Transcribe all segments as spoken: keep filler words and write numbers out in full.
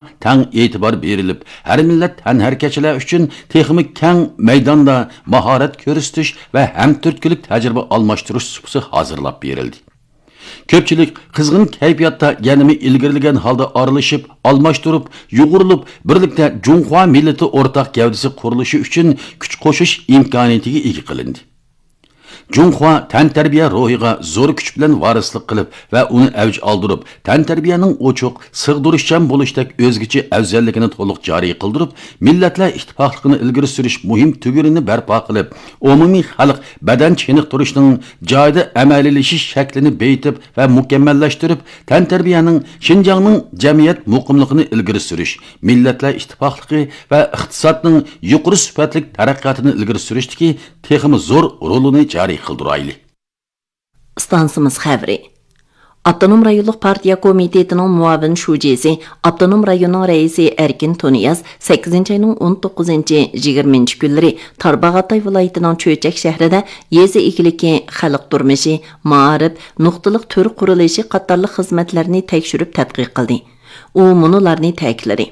تەڭ ئېتىبار بېرىلىپ، ھەر مىللەت تەنھەرىكەتچىلەر ئۈچۈن تېخىمۇ كەڭ مەيداندا ماھارەت كۆرسىتىش ۋە ھەمتۈرتكىلىك تەجرىبە ئالماشتۇرۇش سۇپىسى ھازىرلاپ بېرىلدى. كۆپچىلىك قىزغىن كەيپىياتتا يەنىمۇ ئىلگىرىلىگەن ھالدا ئارىلىشىپ، ئالماشتۇرۇپ، يۇغۇرۇلۇپ، بىرلىكتە جۇڭخۇا مىللىتى ئورتاق گەۋدىسى قۇرۇلۇشى ئۈچۈن كۈچ قوشۇش ئىمكانىيىتىگە ئىگە قىلىندى. جۇڭخۇا تەنتەربىيە روھىغا زور كۈچ بىلەن ۋارىسلىق قىلىپ ۋە ئۇنى ئەۋج ئالدۇرۇپ، تەنتەربىيەنىڭ ئوچۇق، سىغدۇرۇشچان بولۇشتەك ئۆزگىچە ئەۋزەللىكىنى تولۇق جارى قىلدۇرۇپ، مىللەتلەر ئىتتىپاقلىقىنى ئىلگىرى سۈرۈش مۇھىم تۈگۈنىنى بەرپا قىلىپ، ئومۇمىي خەلق بەدەن چېنىقتۇرۇشنىڭ جايىدا ئەمەلىيلىشىش شەكلىنى بېيىتىپ ۋە مۇكەممەللەشتۈرۈپ، تەنتەربىيەنىڭ شىنجاڭنىڭ جەمئىيەت مۇقىملىقىنى ئىلگىرى سۈرۈش، مىللەتلەر ئىتتىپاقلىقى ۋە ئىقتىسادنىڭ يۇقىرى سۈپەتلىك تەرەققىياتىنى ئىلگىرى سۈرۈشتىكى تېخىمۇ زور رولىنى جارى قىلدۇرايلى. ئىستانسىمىز خەۋىرى. ئاپتونوم رايونلۇق پارتىيە كومىتېتىنىڭ مۇئاۋىن شۇجىسى، ئاپتونوم رايوننىڭ رەئىسى ئەركىن تۇنىياز سەككىزىنچى ئاينىڭ ئون توققۇزىنچى، يىگىرمىنچى كۈنلىرى تارباغاتاي ۋىلايىتىنىڭ چۆچەك شەھىرىدە يېزا ئىگىلىكى، خەلق تۇرمۇشى، مائارىپ، نۇقتىلىق تۈر قۇرۇلۇشى قاتارلىق خىزمەتلەرنى تەكشۈرۈپ تەتقىق قىلدى. ئۇ مۇنۇلارنى تەكىتلىدى.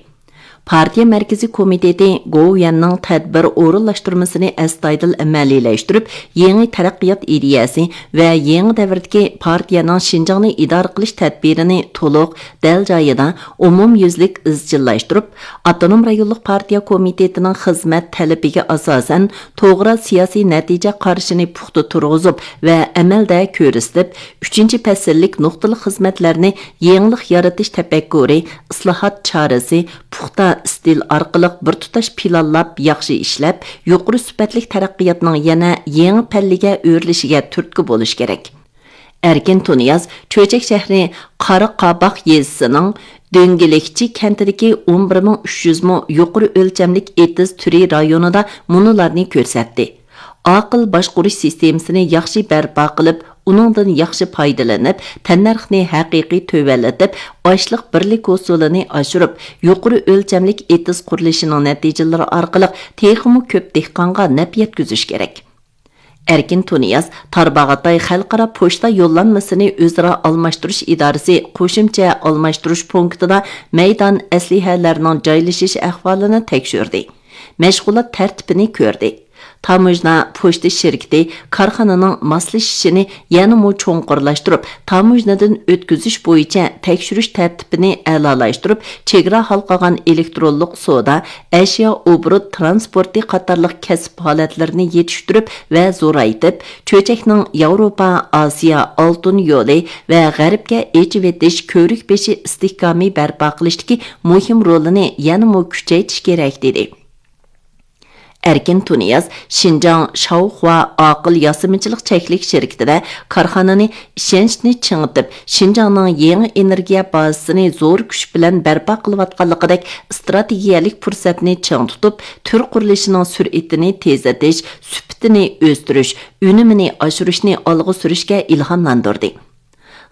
پارتىيە مەركىزىي كومىتېتى گوۋۇيۈەننىڭ تەدبىر ئورۇنلاشتۇرمىسىنى ئەستايىدىل ئەمەلىيلەشتۈرۈپ، يېڭى تەرەققىيات ئىدىيەسى ۋە يېڭى دەۋردىكى پارتىيەنىڭ شىنجاڭنى ئىدارە قىلىش تەدبىرىنى تولۇق، دەل جايىدا، ئومۇميۈزلۈك ئىزچىللاشتۇرۇپ، ئاپتونوم رايونلۇق پارتىيە كومىتېتىنىڭ خىزمەت تەلىپىگە ئاساسەن، توغرا سىياسىي نەتىجە قارىشىنى پۇختا تۇرغۇزۇپ ۋە ئەمەلدە كۆرسىتىپ، ئۈچىنچى پەسىللىك نۇقتىلىق خىزمەتلەرنى يېڭىلىق يارىتىش تەپەككۇرى، ئىسلاھات چارىسى، پۇختا ئىستىل ئارقىلىق بىر تۇتاش پىلانلاپ، ياخشى ئىشلەپ، يۇقىرى سۈپەتلىك تەرەققىياتنىڭ يەنە يېڭى پەللىگە ئۆرلىشىگە تۈرتكە بولۇش كېرەك. ئەركىن تۇنىياز چۆچەك شەھىرى قارا قاباق يېزىسىنىڭ دۆڭگىلىكچى كەنتىدىكى ئون بىر مىڭ ئۈچ يۈز مو يۇقىرى ئۆلچەملىك ئېتىز تۈرى رايونىدا مۇنۇلارنى كۆرسەتتى. ئاقىل باشقۇرۇش سىستېمىسىنى ياخشى بەرپا قىلىپ، ئۇنىڭدىن ياخشى پايدىلىنىپ، تەننەرخنى ھەقىقىي تۆۋەنلىتىپ، ئاشلىق بىرلىك ھوسۇلىنى ئاشۇرۇپ، يۇقىرى ئۆلچەملىك ئېتىز قۇرۇلۇشىنىڭ نەتىجىلىرى ئارقىلىق تېخىمۇ كۆپ دېھقانغا نەپ يەتكۈزۈش كېرەك. ئەركىن تۇنىياز تارباغاتاي خەلقئارا پوچتا يوللانمىسىنى ئۆزئارا ئالماشتۇرۇش ئىدارىسى قوشۇمچە ئالماشتۇرۇش پونكىتىدا مەيدان ئەسلىھەلەرنىڭ جايلىشىش ئەھۋالىنى تەكشۈردى. مەشغۇلات تەرتىپىنى كۆردى. تاموژنا پوچتا شىركىتى كارخانىنىڭ ماسلىشىشىنى يەنىمۇ چوڭقۇرلاشتۇرۇپ، تاموژنىدىن ئۆتكۈزۈش بويىچە تەكشۈرۈش تەرتىپىنى ئەلالاشتۇرۇپ، چېگرا ھالقىغان ئېلېكترونلۇق سودا، ئەشيا ئوبوروت ترانسپورتى قاتارلىق كەسىپ ھالەتلىرىنى يېتىشتۈرۈپ ۋە زورايتىپ، چۆچەكنىڭ ياۋروپا، ئاسىيا ئالتۇن يولى ۋە غەربكە ئېچىۋېتىش كۆۋرۈك بېشى ئىستىھكامى بەرپا قىلىشتىكى مۇھىم رولىنى يەنىمۇ كۈچەيتىش كېرەك، دېدى. ئەركىن تۇنىياز شىنجاڭ شاۋخۇا ئاقىل ياسىمىچىلىق چەكلىك شىركىتىدە كارخانىنى ئىشەنچنى چىڭىتىپ، شىنجاڭنىڭ يېڭى ئېنېرگىيە بازىسىنى زور كۈچ بىلەن بەرپا قىلىۋاتقانلىقىدەك ئىستراتېگىيەلىك پۇرسەتنى چىڭ تۇتۇپ، تۈر قۇرۇلۇشىنىڭ سۈرئىتىنى تېزلىتىش، سۈپىتىنى ئۆستۈرۈش، ئۈنۈمىنى ئاشۇرۇشنى ئالغا سۈرۈشكە ئىلھاملاندۇردى.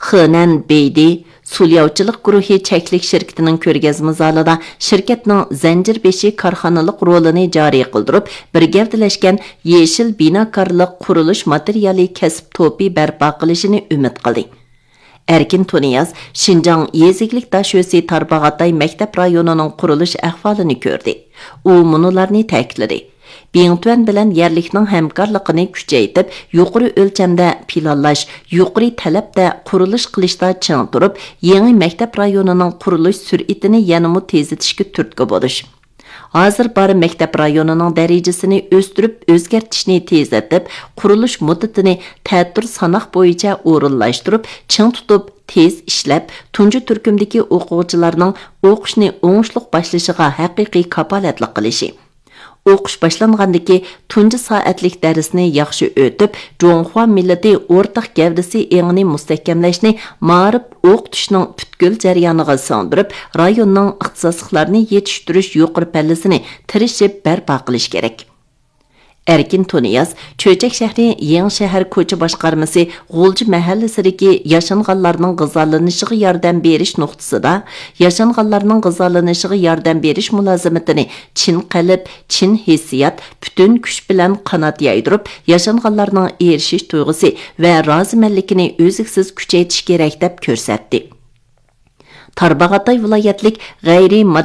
خېنەن بېيدى سۇلياۋچىلىق گۇرۇھى چەكلىك شىركىتىنىڭ كۆرگەزمە زالىدا شىركەتنىڭ زەنجىر بېشى كارخانىلىق رولىنى جارى قىلدۇرۇپ، بىر گەۋدىلەشكەن يېشىل بىناكارلىق قۇرۇلۇش ماتېرىيالى كەسىپ توپى بەرپا قىلىشىنى ئۈمىد قىلدى. ئەركىن تۇنىياز شىنجاڭ يېزا ئىگىلىك داشۆسى تارباغاتاي مەكتەپ رايونىنىڭ قۇرۇلۇش ئەھۋالىنى كۆردى. ئۇ مۇنۇلارنى تەكىتلىدى. بىڭتۈەن بىلەن يەرلىكنىڭ ھەمكارلىقىنى كۈچەيتىپ، يۇقىرى ئۆلچەمدە پىلانلاش، يۇقىرى تەلەپتە قۇرۇلۇش قىلىشتا چىڭ تۇرۇپ، يېڭى مەكتەپ رايونىنىڭ قۇرۇلۇش سۈرئىتىنى يەنىمۇ تېزلىتىشكە تۈرتكە بولۇش. ھازىر بار مەكتەپ رايونىنىڭ دەرىجىسىنى ئۆستۈرۈپ، ئۆزگەرتىشنى تېزلىتىپ، قۇرۇلۇش مۇددىتىنى تەتۈر ساناق بويىچە ئورۇنلاشتۇرۇپ، چىڭ تۇتۇپ، تېز ئىشلەپ، تۇنجى تۈركۈمدىكى ئوقۇغۇچىلارنىڭ ئوقۇشنى ئوڭۇشلۇق باشلىشىغا ھەقىقىي كاپالەتلىك قىلىشى. ئوقۇش باشلانغاندىكى تۇنجى سائەتلىك دەرسنى ياخشى ئۆتۈپ، جۇڭخۇا مىللىتى ئورتاق گەۋدىسى ئېڭىنى مۇستەھكەملەشنى مائارىپ ئوقۇتۇشنىڭ پۈتكۈل جەريانىغا سىڭدۈرۈپ، رايوننىڭ ئىختىساسلىقلارنى يېتىشتۈرۈش يۇقىرى پەللىسىنى تىرىشىپ بەرپا قىلىش كېرەك. ئەركىن تۇنىياز چۆچەك شەھىرى يېڭى شەھەر كوچا باشقارمىسى غۇلجا مەھەللىسىدىكى ياشانغانلارنىڭ غىزالىنىشىغا ياردەم بېرىش نۇقتىسىدا ياشانغانلارنىڭ غىزالىنىشىغا ياردەم بېرىش مۇلازىمىتىنى چىن قەلب، چىن ھېسسىيات، پۈتۈن كۈچ بىلەن قانات يايدۇرۇپ، ياشانغانلارنىڭ ئېرىشىش تۇيغۇسى ۋە رازىمەنلىكىنى ئۈزلۈكسىز كۈچەيتىش كېرەك، دەپ كۆرسەتتى. تارباغاتاي ۋىلايەتلىك غەيرىي ماددىي